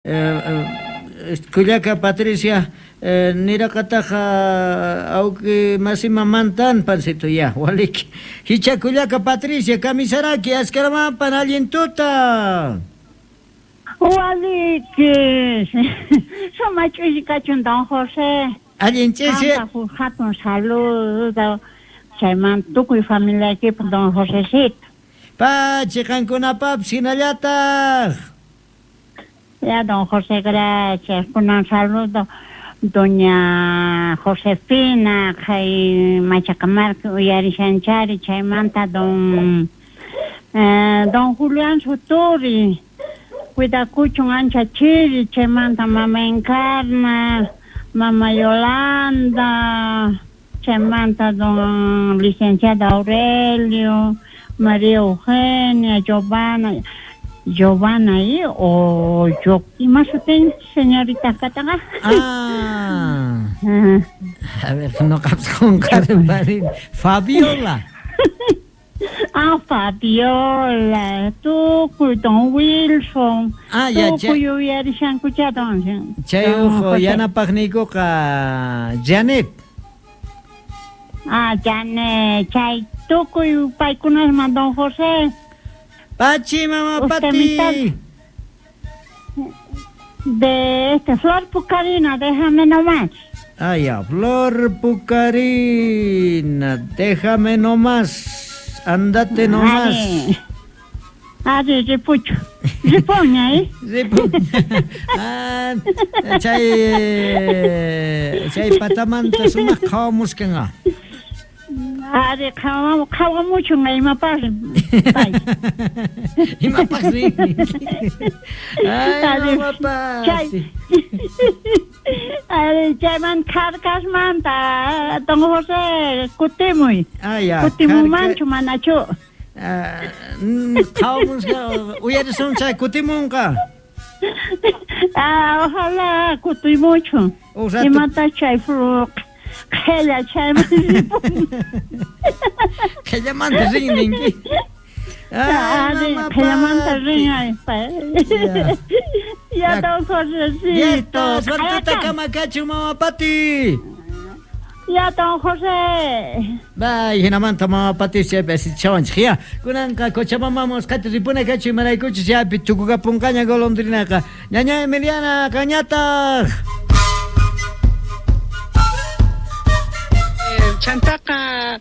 Kullaka Patricia niraqataqa awki masimamantan pancito ya waliki hicha Kullaka Patricia kamisaraki askaramanpan allin tuta. Waliki sumaq ch'usi kachun don José. Allin ch'isi. Qanpaq hatun saludo chayman tukuy familiaykipaq don Josecito. Pachi qankunapapis hinallataq. Ya, don José, gracias. Kunan saludo doña Josefina, kay Machacamarca uyarishanchari, chaymanta don Julián Suturi, cuidakuchun ancha chiri, chaymanta mama Encarna, mama Yolanda, chaymanta don licenciado Aurelio, María Eugenia, Giovanna, Giovanna y o yo ima sutin señorita kataqa. Ah. A ver, no qunqarparin. Fabiola. Ah, Fabiola, tukuy don Wilson. Ah, ya, tukuy uyarishankucha don. Chay uhu yanapaqniykuqa Janet. Ah, Janet, chay tukuy paykunasman don José. Pachi, mamá Pati. De este Flor Pucarina, déjame nomás. Ah, ya, Flor Pucarina, déjame nomás, andate nomás. Ari, ripucho. Ripuña, ¿eh? Ripuña. Ah, chay patamanta sumaq qhawamuskanqa. Ari, qhawamuchun imapaq pay. Imapaq rin. Ay, mamapasi. Chay. Ari, chayman Carcasmanta, don José, kutimuy. Ah, ya. Kutimumanchu manachu. Qhawamusqa, uyarisun chay kutimunqa. Ah, ojalá kutimuchun. Imata chay qhella chayman ripun. Qhellamanta rin ninki. Ay, qhellamanta rin ay. Ya don Josecito. Ya está, suertuta kamakachu mama Pati. Ya don José. Bay, hinamanta mama Pati chaypi asichawanchik ya. Kunanqa Cochabamba qati ripuna kachu imaraykuchus chaypi tukukapunqaña golondrinaqa. Ñaña Emiliana qañataq. Chantaqa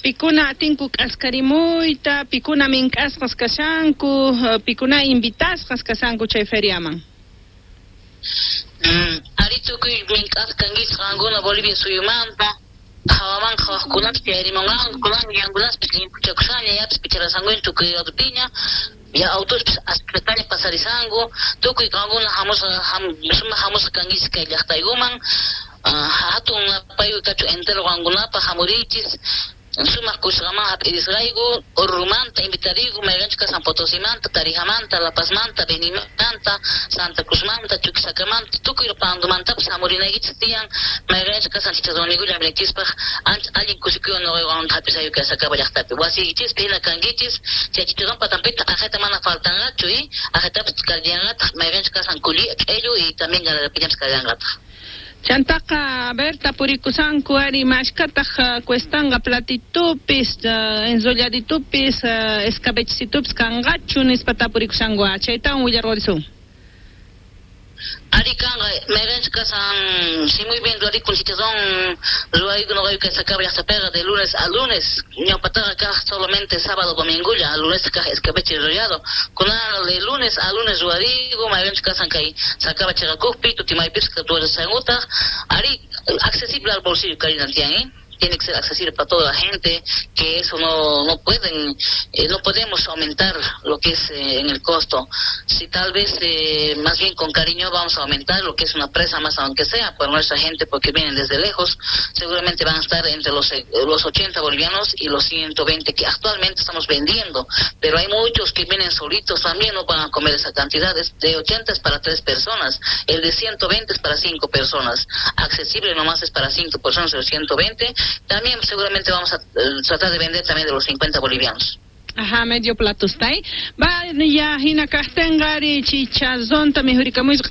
pikuna atinku k'askarimuyta, pikuna mink'asqas kashanku, pikuna invitasqas kashanku chay feriaman. Ari tukuy mink'asqa kankichik qankuna Bolivia suyumanta, hawaman qhawaqkunapis chayarimunqanku, kunan yankunaspis llimpuchakushaña, yapis picharasankuña tukuy ladopiña, ya autospis aspetaña pasarisanku, tukuy qankuna hamusqa sumaq hamusqa kankichik kay llaqtaykuman. Hatun napayku kachu entero qankunapaq hamurichis, sumaq kusqaman hap'irisqayku, Orurumanta invitariku, mayqanchus kasan Potosimanta, Tarijamanta, La Pazmanta, Benimanta, Santa Cruzmanta, Chuquisacamanta, tukuy Pandomantapis hamurinaykichis tiyan, mayqanchus kasan chicharroniykulla hamurinaykichispaq, ancha allin kusikuywan nuqaywan hap'isayku kay Sacaba llaqtapi. Wasiykichispi hina kankichis, chay chicharrón patanpitaq aqhayta mana faltanqachu, aqhaytapis kallanqataq, mayqanchus kasan kuli, q'ellu y también galarapiñapis kallanqataq. Chantaqa, a ver, tapurikusanku ari mashkataq cuestanqa platitupis, enrolladitupis, escabechitupis kanqachu nispa tapurikusanku, chaytawan willarqurisun. Ari kanqa, mayqanchus kasan, si muy bien ruwarikun chicharrón, ruwayku nuqayku kay Sacaba llaqtapiqa de lunes a lunes, ñawpataqa kaq solamente sábado domingulla, lunes kaq escabeche enrollado, kunan de lunes a lunes ruwariku, mayqanchus kasan kay Sacaba chiqakuqpi, Tutimaypis ruwarisankutaq, ari accesible al bolsillo Karina tiyan, ¿eh? Tiene que ser accesible para toda la gente, que eso no pueden, no podemos aumentar lo que es en el costo. Si tal vez más bien con cariño vamos a aumentar lo que es una presa más, aunque sea por nuestra gente, porque vienen desde lejos, seguramente van a estar entre los 80 bolivianos y los 120 que actualmente estamos vendiendo, pero hay muchos que vienen solitos también, no van a comer esa cantidad. De 80 es para 3 personas, el de 120 es para 5 personas, accesible nomás es para 5 personas el 120. También seguramente vamos a tratar de vender también de los 50 bolivianos. Ajá, medio platusta, ¿eh? Va, ya hina kaqtinqa ari chicharronta mikhurikamuychik.